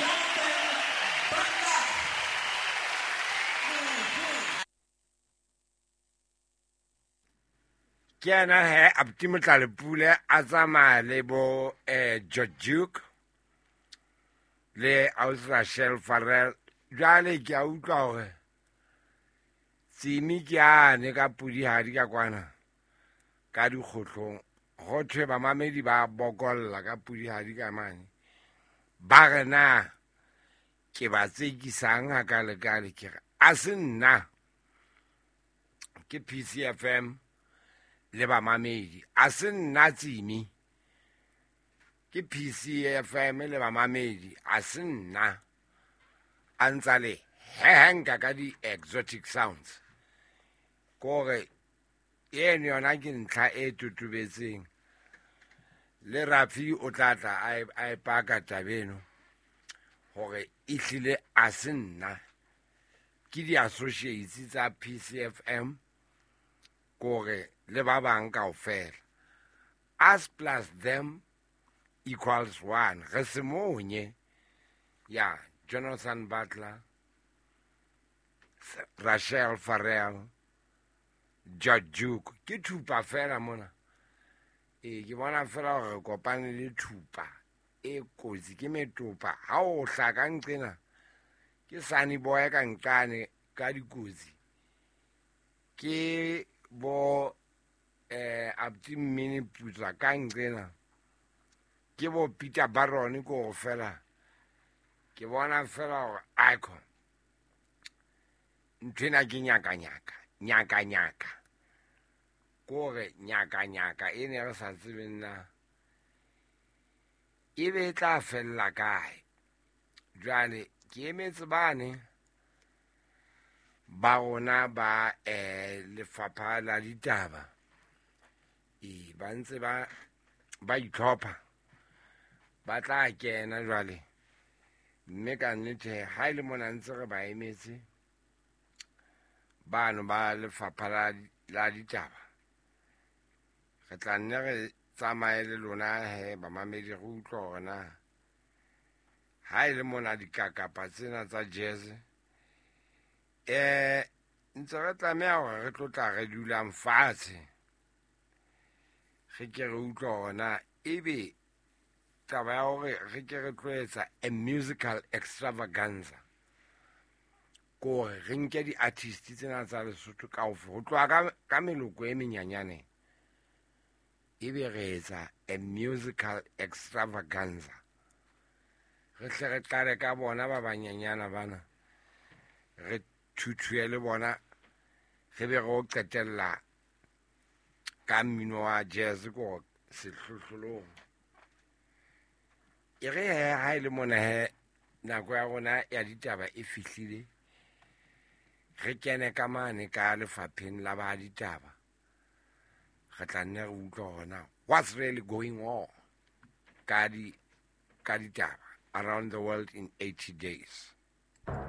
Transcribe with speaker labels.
Speaker 1: Jonathan Butler.
Speaker 2: Ke yena he abuti Motlalepule a tsamaya le bo George Duke le ausi Rachel Farrell. Jwale ke a utlwa hore Tsimi ke ane ka pudihadi ka kwana ka dikgohlong, ho thwe bamamedi ba bokolla ka pudihadi ka mane, ba re na ke ba tsekisang hakalekale. Ke re a se nna, ke PCFM le bamamedi, a se nna Tsimi, ke PCFM le bamamedi, a se nna. A ntsa le hehenka ka di-exotic sounds, kore eno yona ke ntlha e totobetseng. Le Rafi o tla tla a e paka taba eno hore ehlile a se nna, ke di-associates tsa PCFM kore le ba bang kaofela. Us plus them equals 1. Re se monye. Ya Jonathan Butler, Rachel Farrell, George Duke. Ke thupa fela mona. Ke bona fela hore re kopane le thupa e kotsi, ke metopa. Ha o hlaka nqena, ke Sunny Boy ka nqane ka dikotsi. Ke bo abuti Mmini Putswa ka nqena. Ke bo Peter Baron ko go fela. Ke bona fela hore icon. Nthwena ke nyaka-nyaka, nyaka-nyaka. Kore nyaka-nyaka e ne re sa tsebeng na e be e tla fella kae. Jwale ke emetse bane ba rona ba lefapha la ditaba. Ba ntse ba itlhopha, ba tla kena jwale. Mme ka nnete ha e le mona ntse re ba emetse bano ba lefapha la ditaba, re tla nne re tsamaye le lona he bamamedi, re utlwe hore na ha e le mona dikakapa tsena tsa jazz, ntse re tlameha hore re tlo tla re dulang fatshe, re ke re utlwe hore na ebe taba ya hore re ke re tlo etsa a musical extravaganza, kore re nke di-artist tsena tsa Lesotho kaofela, ho tloha ka meloko e menyanyaneng, ebe re etsa a musical extravaganza. Re hle re qale ka bona ba banyenyana bana, re thuthuhe le bona, re be re o qetella ka mmino wa jazz ko sehlohlolong. E re he, ha e le mona he, nako ya rona ya ditaba e fihlile, re kene ka mane ka lefapheng la ba ditaba, re tla nne re utlwe hore na what's really going on ka ditaba around the world in 80 days.